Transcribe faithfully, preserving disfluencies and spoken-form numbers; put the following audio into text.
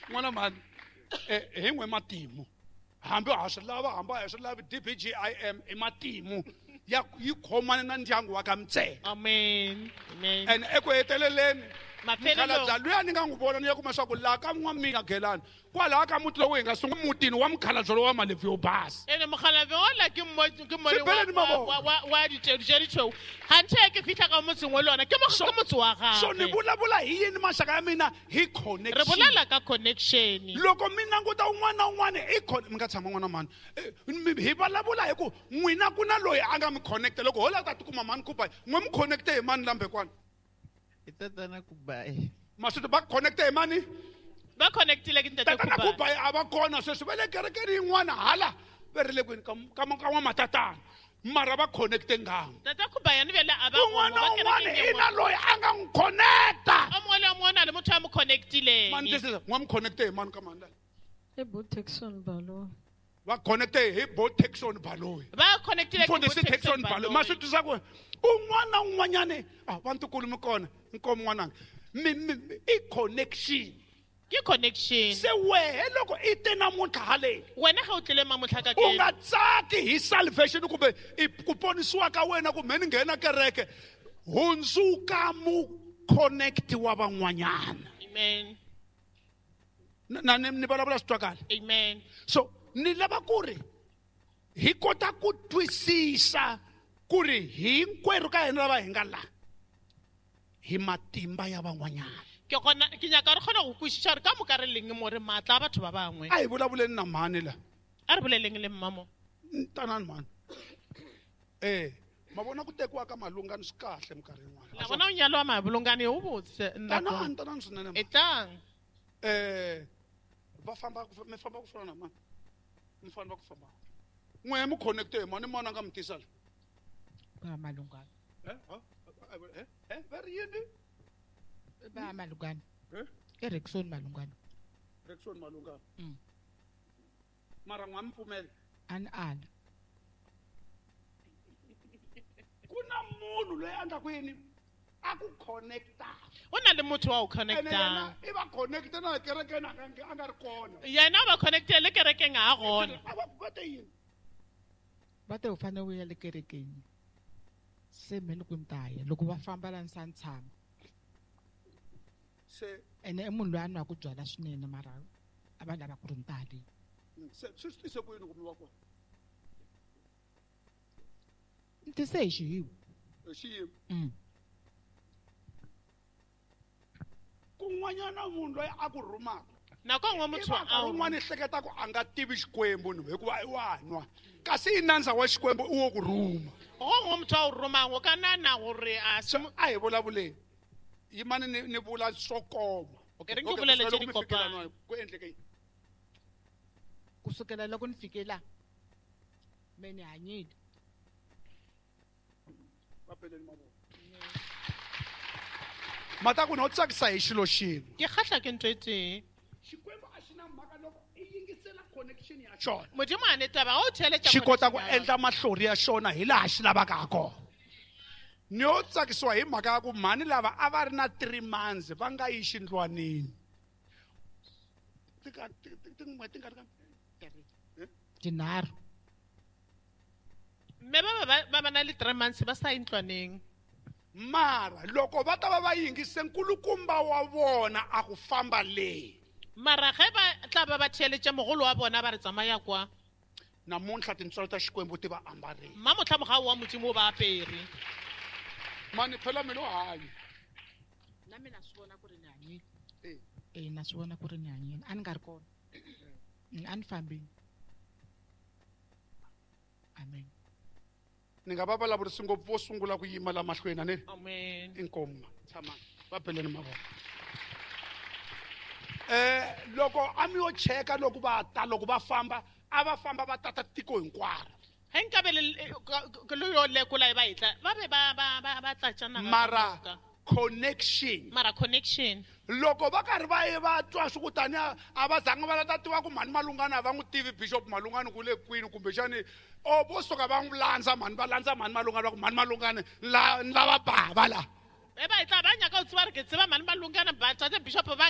N'wana mhani hi n'we matimu hambi ha swi lava hambi a hi swi lavi D B G I M i matimu ya yi khomane na ndyangu wa ka Mtseka. Amen. Amen. And eku heteleleni mukhalabye luya ni nga n'wi vona ni ya kuma swa ku laha ka n'wamina Gelani kwalaha ka muti lowu hi nga sungula mutini wa mukhalabye lowa malebvu yo basa. Ene mukhalabye wa ke mo ke mo wa wa wa ditelu tse ditshweu ganthe ke fitlha ka motseng wa lona ke mo ke motse wa gagwe. So ni vulavula hi yini maxaka ya mina hi connection. Re bolela ka connection. Loko mi languta un'wana na un'wana i mi nga tshama n'wana mhani hi vulavula hi ku n'wina ku na loyi a nga mi connecta loko ho lava ta tikuma mhani Khubayi n'we mi connecte hi mani lambe kwana. Tatana Khubayi. Maswito ba connecte hi mani? Ba connectile ke ntate Tatana Khubayi a va kona sweswi va le kerekeni yin'wana hala va ri le kwini ka ka ka n'wamatatana mara va connecte nghamu. Tata Khubayi ni vele a va un'wana na un'wana i na loyi a nga n'wi connecta. O mongwe le o mongwe o na le motho a mo connectileng. Mani twisisa n'wa mi connecte hi mani ka mani la? I bo Texon Baloyi. Va connecte hi bo Texon Baloyi. Va connectile ke bo Texon Baloyi. Maswito swa ku un'wana na un'wanyana a va ntukulu mi kona nkomo n'wananga mi mi i connection. Ke connection. Se wehe loko i te namuntlha haleni wena ga o tlile mamotlha ka u nga tsaki hi salvation kumbe ku ponisiwa ka wena kumbe ni nghena kereke hundzuka mu connect wa van'wanyana. Amen. Na ni ni vulavula swi twakala. Amen. So ni lava ku ri hi kota ku twisisa ku ri hinkwerhu ka hina lava hi nga la hi matimba ya van'wanyana. Ke gona ke nyaka re kgone go kwešiša gore ka moka re leng mo re maatla a batho ba bangwe. A hi vulavuleni na mhani la. A re boleleng le mmamo. Tanani mhani. Eh, ma vona ku tekiwa ka Malungani swi kahle minkarhi yin'wana. La vona u nyalo wa Malungani u botse. Tanani tanani swinene. Etang. Eh, va famba mi famba ku fana na mani. Mi famba ku famba. N'we mi connecte hi mani mani a nga mi tisa la. Ba Malungani. Eh? Eh? Eh? Va ri yini? Ba Malungani. Eh? Erikson Malungani. Erikson Malungani. Mm. Mara n'wa mi pfumela. An ala. Ku na munhu loyi a endlaku yini? A ku connecta. O na le motho wa o connecta. I va connecta na kerekeni a nga a nga ri kona. Yena va connecte le kerekeng a gona. A va va te yini? Va te u fanele u ya le kerekeni. Se me ni ku ni ta ya loko va famba la ni sa ni tshama. Se ene i munhu loyi a nwaka byalwa swinene mara a va lava ku ri ni ta le. Se swi swi tise ku yini ku mi va kona? Ni tise hi xiyimo. Hi xiyimo? Mm. Kun'wanyana munhu loyi a ku rhumaka. Nako nngwe motho a un'wana i hleketa ku a nga tivi Xikwembu ni hikuva i wa nwa kasi i nandza wa Xikwembu i wo ku rhuma. Go nngwe motho a o romang o ka nana gore a se a hi vulavuleni yimani ni ni vula swo koma. E re ke bolele tse di kopana. Ku endleke yini? Kusukela loko ni fike la me ni hanyile. Va peleni mavoko. Mata ku no tsakisa hi xilo xin'we. Ke kgahla ke ntho e tee. Xikwembu a xi na mhaka loko i yingisela connection ya xona. Modimo a ne taba o theletša xi kota ku endla mahlori ya xona hi laha xi lavaka ha kona. Ni yo tsakisiwa hi mhaka ya ku mhani lava a va ri na three months va nga yi xindlwanini. Tin'hweti nga ri ka tinharhu. Mme ba ba ba ba na le three months ba sa yi ntlwaneng. Mara loko va ta va va yingise nkulukumba wa vona a ku famba le. Mara ge ba tla ba ba theletša mogolo wa bona ba re tsamaya kwa. Namuntlha tintswalo ta Xikwembu ti va ambarile. Mmamotlha mogau wa Modimo o ba apere. Mani phela mina u hanya. Na mina swi vona ku ri ni hanyile. Eh. Eh na swi vona ku ri ni hanyile. A ni nga ri kona. A ni fambile. Amen. Ni nga va vulavurisi ngopfu vo sungula ku yima la mahlweni a ni? Amen. Inkomu. Tshama. Va beleni mavoko. Eh loko a mi yo cheka loko va ta loko va famba a va famba va tata tiko hinkwaro. Ge nkabe le le yo lekola e ba etla ba be ba ba ba ba tlatša naga. Mara connection. Mara connection. Loko va karhi va ye va twa swi ku tani a va zanga va la ta tiva ku mhani Malungani a va n'wi tivi Bishop Malungani ku le kwini kumbexani o vo suka va n'wi landza mhani va landza mhani Malungani va ku mhani Malungani la ni lava bava la. E ba etla ba nyaka o tseba re ke tseba mhani Malungani ba tate Bishop ba